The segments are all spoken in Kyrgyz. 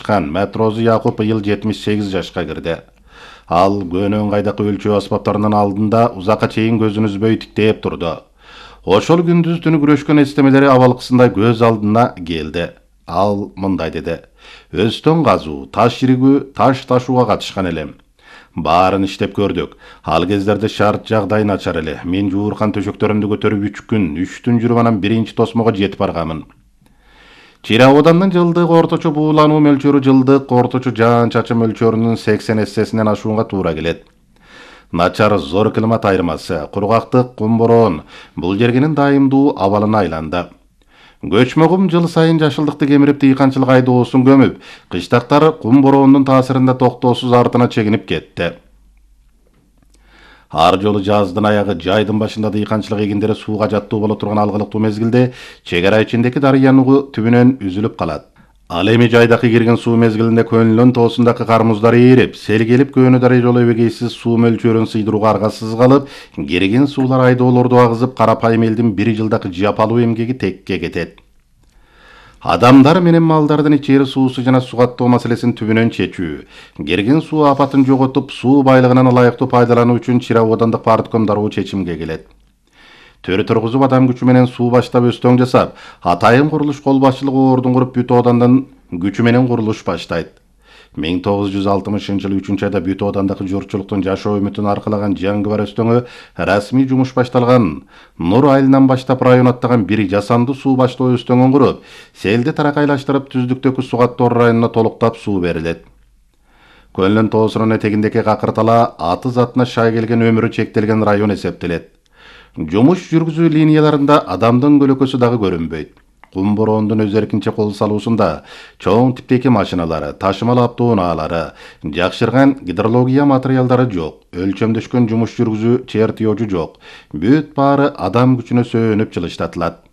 катышкан Матрозу Якуп быйыл 78 жашка кирди. Ал көнөн кайдакы өлчөө аспаптарынын алдында узакка чейин көзүн үзбөй тиктеп турду. Ошол күндүз түнү күрөшкөн эстемелери абалкысындай көз алдына келди. Ал мындай деди: "Өстөн казуу, таш иригүү, таш ташууга катышкан элем. Баарын иштеп көрдүк. Ал кездерде шарт жагдай начар эле. Мен жууркан төшөктөрүмдү көтөрүп 3 күн, 3 түн жүрүп анан биринчи тосмого жетип барганмын. Чирауданын жылдык орточо буулануу мөлчөрү жылдык орточо жаан чачым мөлчөрүнүн 80 эссесинен ашуунга туура келет. Начар зор климат айырмасы, кургактык, кум бороон бул жергенин дайымдуу абалына айланды. Көчмө кум жыл сайын жашылдыкты кемирип дыйканчылык айдоосун көмүп, кыштактар кум бороонун таасиринде токтоосуз артына чегинип кетти. Ар жолу жаздын аягы, жайдын башында дыйканчылык эгиндери сууга жаттуу боло турган алгылыктуу мезгилде чек ара ичиндеки дарыянын түбүнөн үзүлүп калат. Ал эми жайдакы кирген суу мезгилинде Көнлөн тоосундагы кармуздар ээрип, сел келип Көнү дарый жолу эбегейсиз суу мөлчөрүн сыйдырууга аргасыз калып, кирген суулар айдоолорду агызып, карапайым элдин бир жылдагы жапалуу эмгеги текке кетет. Адамдар менен малдардын ичери суусу жана сугаттоо маселесин түбүнөн чечүү, кирген суу апатын жоготуп, суу байлыгынан ылайыктуу пайдалануу үчүн Чирауодандык партком дароо чечимге келет. Төр тургузуп адам күчү менен суу баштап өстөң жасап, атайын курулуш кол башчылыгы ордун куруп бүт оодандын күчү менен курулуш баштайт. 1960-жылы 3-айда бүт оодандагы журтчулуктун жашоо үмүтүн аркалаган Жаңгыбар өстөңү расмий жумуш башталган. Нур айылынан баштап район аттаган бир жасанды суу баштоо өстөңүн куруп, селди таракайлаштырып түздүктөгү Сугаттор районуна толуктап суу берилет. Көнлөн тоосунун этегиндеки Какыртала аты затына шай келген өмүрү чектелген район эсептелет. Жумуш жүргүзүү линияларында адамдын көлөкөсү дагы көрүнбөйт. Кум бороондун өз эркинче кол салуусунда чоң типтеги машиналары, ташымал автоунаалары, жакшырган гидрология материалдары жок, өлчөмдөшкөн жумуш жүргүзүү чертежи жок. Бүт баары адам күчүнө сөөнүп жылыштатылат.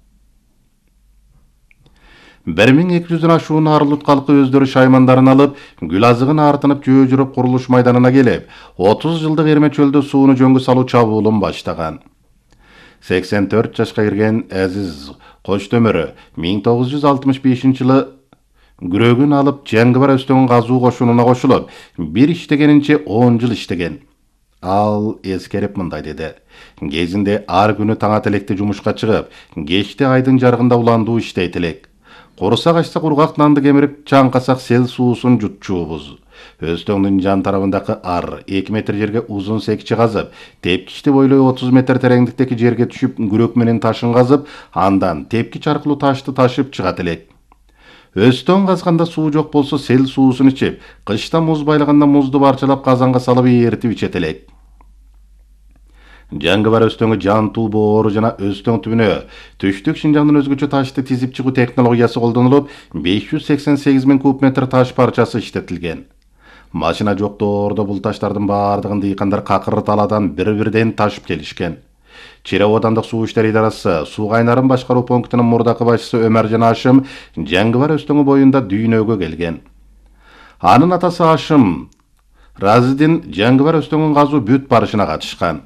1200-дөн ашуун арылут калкы өздөрү шаймандарын алып, гүл азыгын артынып жөө жүрүп курулуш майданына келип, 30 жылдык эрме чөлдө сууну жөнгө салуу чабуулун баштаган. 84 жашка кирген Азиз Коштөмөрү 1965-жылы күрөгүн алып Жаңгыбар өстөңүн казуу кошунуна кошулуп, бир иштегенинче 10 жыл иштеген. Ал эскерип мындай деди: "Кезинде ар күнү таң ателекте жумушка чыгып, кечте айдын жарыгында уландуу иштейт элек. Курсак ачса кургак нанды кемирип, чаңкасак сел суусун жутчуубуз. Өстөңдүн жан тарабындагы ар 2 метр жерге узун секчи казып, тепкичти бойлой 30 метр тереңдиктеги жерге түшүп, күрөк менен ташын казып, андан тепкич аркылуу ташты ташып чыгат элек. Өстөң казганда суу жок болсо сел суусун ичип, кышта муз байлаганда музду парчалап казанга салып ээритип ичет элек." Жаңгыбар өстөңү жантуу боору жана өстөң түбүнө түштүк Шинжаңдын өзгөчө ташты тизип чыгуу технологиясы колдонулуп, 588 000 куб метр таш парчасы иштетилген. Машина жоктоордо бул таштардын баардыгын дыйкандар Какырталадан бир-бирден ташып келишкен. Чирауодандык суу иштери идарасы суу кайнарын башкаруу пунктунун мурдакы башчысы Өмөржан Ашым Жаңгыбар өстөңү боюнда дүйнөгө келген. Анын атасы Ашым Разидин Жаңгыбар өстөңүн казуу бүт барышына катышкан.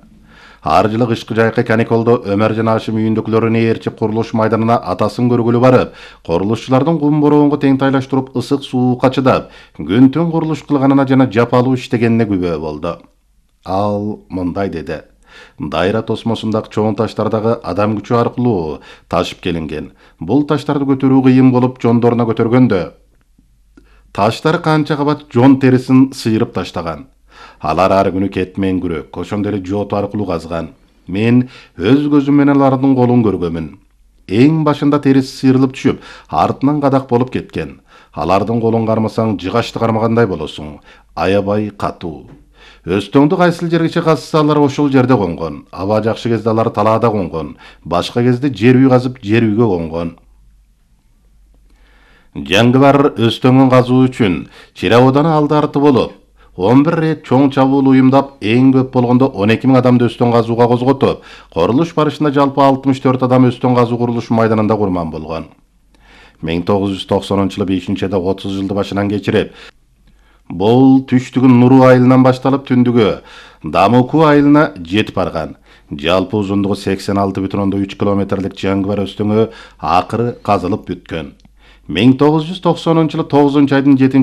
Ар жылы кышкы жайкы каникулдо Өмөржан Ашым үйүндөгүлөрүн ээрчип курулуш майданына атасын көргүлө барып, курулушчулардын кум бороонго теңтайлаштырып ысык суукка чыдап, күн-түн курулуш кылганына жана жапалуу иштегенине күбө болду. Ал мындай деди: "Дайра тосмосундагы чоң таштардагы адам күчү аркылуу ташып келинген. Бул таштарды көтөрүү кыйын болуп, жондоруна көтөргөндө таштар канча кабат жон терисин сыйрып таштаган. Алар ар күнү кетмен күрөк, ошондой эле жоту аркылуу казган. Мен өз көзүм менен алардын колун көргөмүн. Эң башында терisi сыйрылып түшүп, артынан кадак болуп кеткен. Алардын колун кармасаң, жыгачты кармагандай болосуң. Аябай катуу. Өстөңдү кайсыл жергече казса алар ошол жерде конгон. Аба жакшы кезде алар талаада конгон. Башка кезде жер үй казып, жер үйгө конгон." Жаңгыбар өстөңүн казуу үчүн Чирауоданы алды арты болуп, 11 рет чоң чабуул уюмдап, эң көп болгондо 12 000 адамды өстөң казууга козготуп, курулуш барышында жалпы 64 адам өстөң казуу курулуш майданында курман болгон. 1990-жылы 5-айда 30 жылды башынан кечирип, бул түштүгүн Нуру айылынан башталып түндүгү Дамуку айылына жетип барган. Жалпы узундугу 86,3 километрлик Жаңгыбар өстөңү акыры казылып бүткөн. 1990-жылы 9-айдын 7